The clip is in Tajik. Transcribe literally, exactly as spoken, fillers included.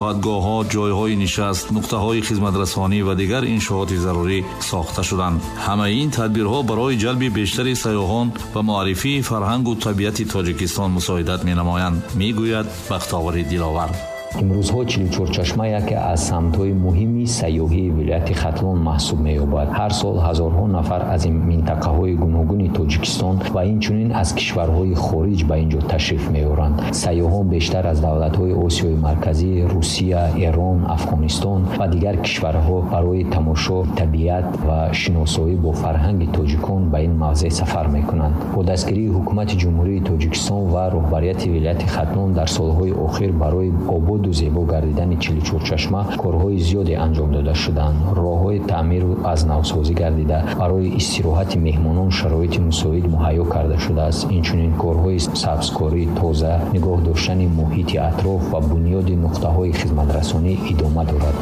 Истироҳатгоҳҳо, ҷойҳои нишаст, нуқтаҳои хизматрасонӣ ва дигар иншооти зарурӣ сохта шуданд. Ҳамаи ин тадбирҳо барои ҷалби бештари сайёҳон ва муаррифии фарҳангу табиати Тоҷикистон мусоидат менамоянд, мегӯяд Бахтовари Диловар. Имрӯзҳо Чилучорчашма яке аз самтҳои муҳими сайёҳии вилояти Хатлон маҳсуб меёбад. Ҳар сол ҳазорҳо нафар аз минтақаҳои гуногуни Тоҷикистон ва инчунин аз кишварҳои хориҷ ба ин ҷо ташриф меоранд. Сайёҳон бештар аз давлатҳои Осиёи Марказӣ, Русия, Эрон, Афғонистон ва дигар кишварҳо барои тамошо, табиат ва шиносоӣ бо фарҳанги тоҷикон ба ин мавзеъ сафар мекунанд. Бо дастгирии Ҳукумати Ҷумҳурии Тоҷикистон ва роҳбарияти вилояти Хатлон дар солҳои охир барои ободу зебо гардидани Чилучорчашма корҳои зиёде анҷом дода шуданд. Роҳҳои таъмиру аз навсозӣ гардида, барои истироҳати меҳмонон шароити мусоид муҳайё карда шудааст. Инчунин корҳои сабзкорӣ, тоза нигоҳ доштани муҳити атроф ва бунёди нуқтаҳои хизматрасонӣ идома дорад.